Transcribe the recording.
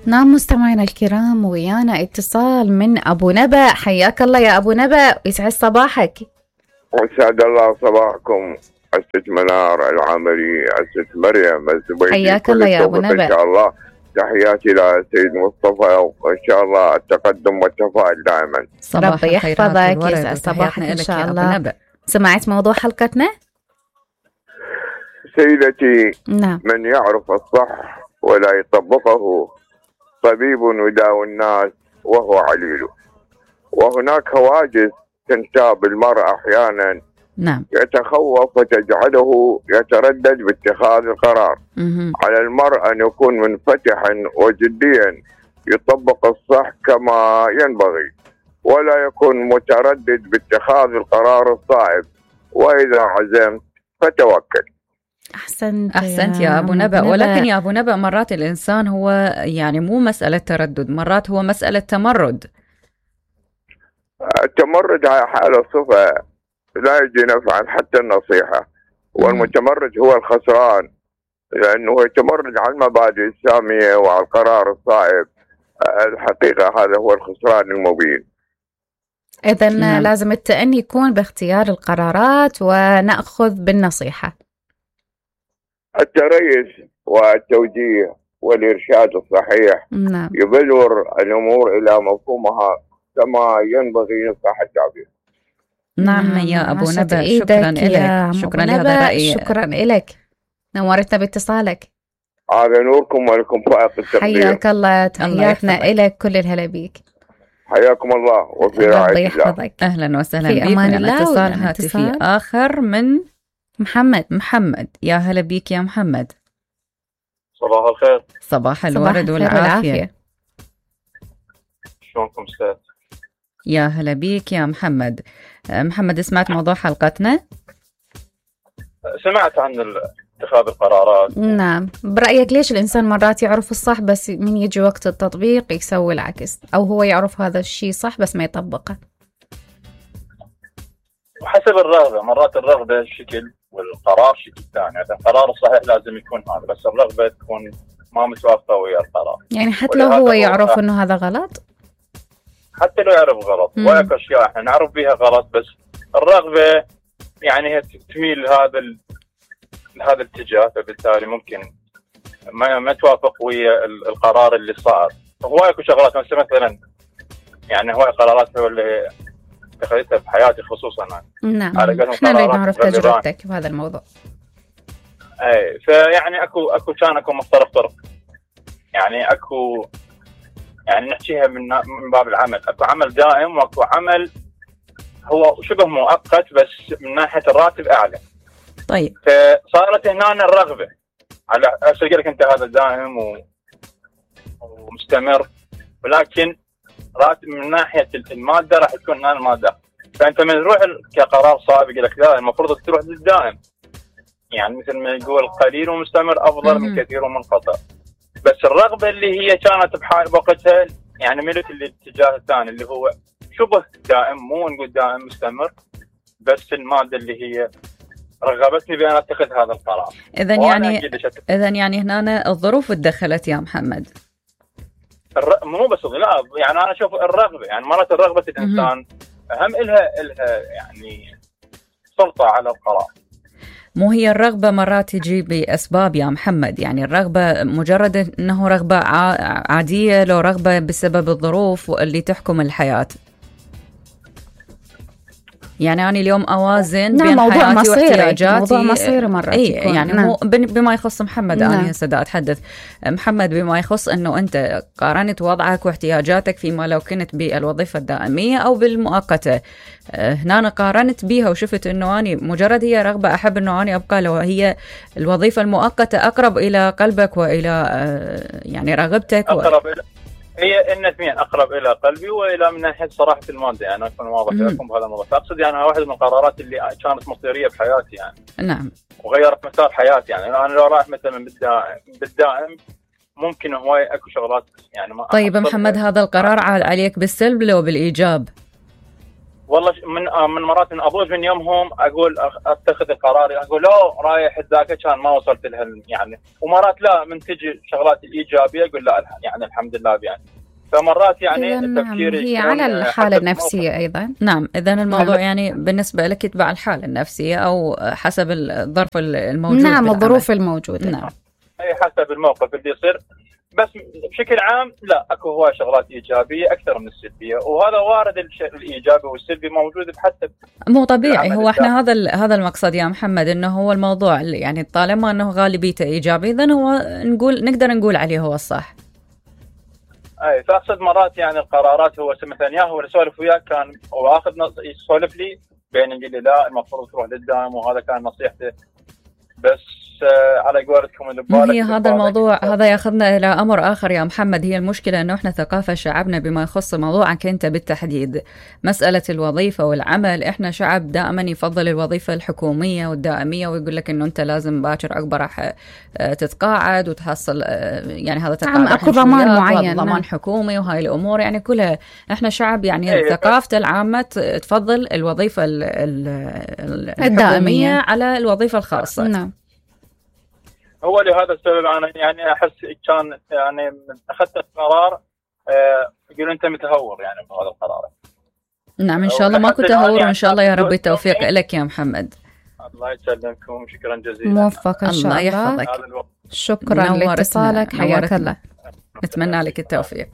نعم مستمعينا الكرام، ويانا اتصال من أبو نبأ. حياك الله يا أبو نبأ، يسعد صباحك. وسعد الله صباحكم. أستاذ منار العامري، أستاذ مريم الزبيدي، حياك الله يا أبو نبأ. إن شاء الله تحياتي لسيد مصطفى، وإن شاء الله التقدم والتفاؤل دائما. ربي يحفظك، يسعد صباحك إن شاء الله. سمعت موضوع حلقتنا؟ سيدتي، نعم. من يعرف الصح ولا يطبقه طبيب يداوي الناس وهو عليل. وهناك هواجس تنتاب المرء أحيانا، نعم، يتخوف وتجعله يتردد باتخاذ القرار. على المرء أن يكون منفتحا وجديا، يطبق الصح كما ينبغي، ولا يكون متردد باتخاذ القرار الصائب. وإذا عزمت فتوكل. أحسنت يا أبو نبأ. ولكن يا أبو نبأ، مرات الإنسان هو يعني مو مسألة تردد، مرات هو مسألة تمرد. التمرد على حالة صفة لا يجي نفعا حتى النصيحة. والمتمرد هو الخسران، لأنه يتمرد على المبادئ السامية وعلى القرار الصائب. الحقيقة هذا هو الخسران المبين. إذن لازم التأني يكون باختيار القرارات ونأخذ بالنصيحة. التريث والتوجيه والإرشاد الصحيح، نعم، يبلور الأمور إلى مفهومها كما ينبغي يصح التعبير. نعم يا أبو نبأ، شكرا لك. شكرا لهذا الرأي. شكرا لك، نورتنا باتصالك. على نوركم ولكم فائق التقدير. حياك الله، تحياتنا إلك، كل الهلا بيك. حياكم الله وفي رعاية الله. أهلا وسهلا بك. أمان الله. اتصال هاتفي آخر من محمد. يا هلا بيك يا محمد. صباح الخير. صباح الورد والعافية. شلونكم استاذ؟ يا هلا بيك يا محمد. محمد، سمعت موضوع حلقتنا؟ سمعت عن اتخاذ القرارات. نعم، برأيك ليش الإنسان مرات يعرف الصح بس من يجي وقت التطبيق يسوي العكس، أو هو يعرف هذا الشيء صح بس ما يطبقه؟ وحسب الرغبة، مرات الرغبة شكل والقرار شكل ثاني. القرار الصحيح لازم يكون هذا، بس الرغبة تكون ما متوافقة ويا القرار. يعني حتى لو هو يعرف إنه هذا غلط؟ حتى لو يعرف غلط، وهيك أشياء احنا نعرف بها غلط، بس الرغبة يعني هي تميل هذا الاتجاه، فبالتالي ممكن ما توافق ويا القرار اللي صار. هواي شغلات مثلا يعني هواي قرارات هو اللي اتخذتها بحياتي خصوصا. نعم، احنا نريد نعرف تجربتك بهذا الموضوع. اي، فيعني اكو مفترق طرق، يعني يعني نحكيها من باب العمل. اكو عمل دائم واكو عمل هو شبه مؤقت بس من ناحية الراتب اعلى. طيب، فصارت هنا الرغبة على أقول لك أنت هذا دائم ومستمر، ولكن راتب من ناحية المادة راح تكون هنا المادة. فأنت من تروح كقرار صعب يقول لك لا، المفروض تروح للدائم. يعني مثل ما يقول قليل ومستمر أفضل من كثير ومنقطع. بس الرغبة اللي هي كانت بوقتها يعني ملت الاتجاه الثاني اللي هو شبه دائم، مو نقول دائم مستمر، بس المادة اللي هي رغبتني بأن أتخذ هذا القرار. إذن يعني هنا الظروف تدخلت يا محمد. مو بس لا، يعني أنا أشوف الرغبة، يعني مرات الرغبة الإنسان أهم إلها يعني سلطة على القرار. مو هي الرغبة مرات تجي بأسباب يا محمد، يعني الرغبة مجرد أنه رغبة عادية، لو رغبة بسبب الظروف اللي تحكم الحياة. يعني أنا اليوم أوازن بين حياتي واحتياجاتي. موضوع مصيري مرات يكون. يعني مو بما يخص محمد. أنا هسه دا أتحدث محمد بما يخص أنه أنت قارنت وضعك واحتياجاتك فيما لو كنت بالوظيفة الدائمية أو بالمؤقتة. هنا قارنت بيها وشفت أنه أنا مجرد هي رغبة أحب أنه أنا أبقى لو هي الوظيفة المؤقتة أقرب إلى قلبك وإلى يعني رغبتك. هي الاثنين اقرب الى قلبي والى من ناحيه صراحه الماده. يعني اكون واضح لكم بهذا الموضوع. اقصد يعني واحد من القرارات اللي كانت مصيريه بحياتي يعني. نعم. وغيرت مسار حياتي. يعني انا لو رايح مثلا بالدائم ممكن هواي اكو شغلات يعني ما. طيب محمد، هذا القرار عليك بالسلب لو بالايجاب؟ والله من مرات من ابوز من يومهم اقول اتخذ قراري، اقول لا رايح ذاك كان ما وصلت لها يعني، ومرات لا من تجي شغلات ايجابيه اقول لا يعني الحمد لله يعني. فمرات يعني تفكيري هي على الحاله النفسيه ايضا. نعم، اذا الموضوع يعني بالنسبه لك يتبع الحاله النفسيه او حسب الظرف الموجود. نعم، الظروف الموجوده. نعم، اي حسب الموقف اللي يصير، بس بشكل عام لا اكو هواي شغلات ايجابيه اكثر من السلبيه، وهذا وارد الشيء الايجابي والسلبي موجود بحسب. مو طبيعي، هو احنا هذا المقصد يا محمد، انه هو الموضوع يعني طالما انه غالبيته ايجابي اذا هو نقدر نقول عليه هو الصح. اي فاقصد مرات يعني القرارات هو مثلا يا هو يسولف وياك كان واخذ يسولف لي بين يقول لي لا المفروض تروح للدائم، وهذا كان نصيحته، بس على قولتكم اللي هي هذا الموضوع هذا ياخذنا الى امر اخر يا محمد. هي المشكله انه احنا ثقافه شعبنا بما يخص موضوعك انت بالتحديد، مساله الوظيفه والعمل، احنا شعب دائما يفضل الوظيفه الحكوميه والدائميه، ويقول لك انه انت لازم باكر اكبر راح تتقاعد وتحصل يعني هذا تقاعد اكو ضمان معين، ضمان حكومي وهاي الامور، يعني كلها احنا شعب يعني ثقافته العامه تفضل الوظيفه الدائميه على الوظيفه الخاصه. نعم. هو لهذا السبب انا يعني احس كان يعني اخذت القرار يقول انت متهور يعني بهذا القرار. نعم ان شاء الله ماكو تهور، وان شاء الله يا رب التوفيق لك يا محمد. الله يسلمكم، شكرا جزيلا. موفق ان شاء الله. الله يحفظك. شكرا لاتصالك، حياك الله. نتمنى لك التوفيق.